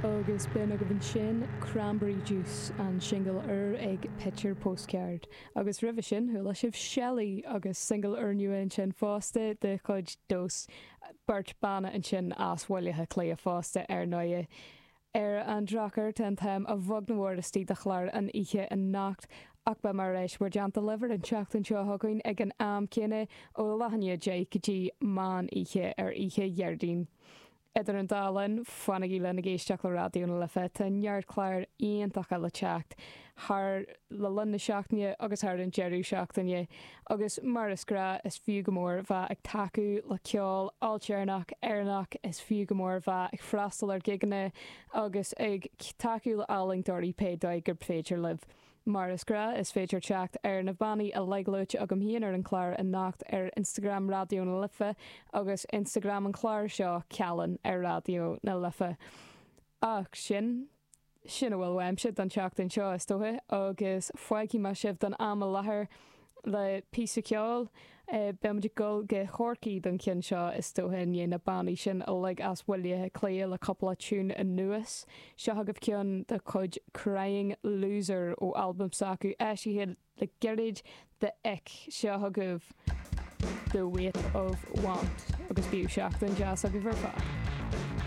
Agus b'in agaibh ansin Cranberry Juice, an singil úr ag Picture Postcard. Agus roimhe sin, chuala sibh Shelley agus singil úrnua ansin fosta de chuid Dós. Beirt banna ansin as Bhaile Átha Cliath fosta, ar ndóighe. Ar an drochuair, tá an t-am a bheag nó a mhór istigh do chlár an oíche anocht, ach beidh mé ar ais bhur dteannta libh ar an tseachtain seo chugainn ag an am céanna, ó leath i ndiaidh 10 go dtí meán oíche ar oíche Dhéardaoin. Idir an dá linn, fanaigí linn ag éisteacht le Raidió na Life, tá neart clár iontacha le teacht thar le linn na seachtaine agus thar an deireadh seachtaine. Agus mar is gnáth, is fiú go mór bheith ag tacú le ceol ailtéarnach Éireannach, is fiú go mór bheith ag freastal ar ghigeanna agus ag tacú le ealaíontóirí pé dóigh gurb féidir libh. Mar is gnáth, is féidir teacht ar na bannaí uilig luaite agam féin ar an chlár anocht ar Instagram Raidió na Life agus Instagram an chláir seo, Cealann ar Raidió na Life. Ach sin. Sin a bhfuil uaimse don tseachtain seo, is dócha, agus fágfaidh mé sibh don am i láthair le píosa ceoil. Beidh muid ag dul go Corcaigh don cheann seo, is dócha, i ndiaidh na bannaí sin uilig as Bhaile Átha Cliath le cúpla tiún anuas. Seo agaibh ceann de chuid Crying Loser ó albam s'acu, eisithe le gairid, The Ick. Seo chugaibh The Weight of Want agus bíodh seachtain deas agaibh ar fad.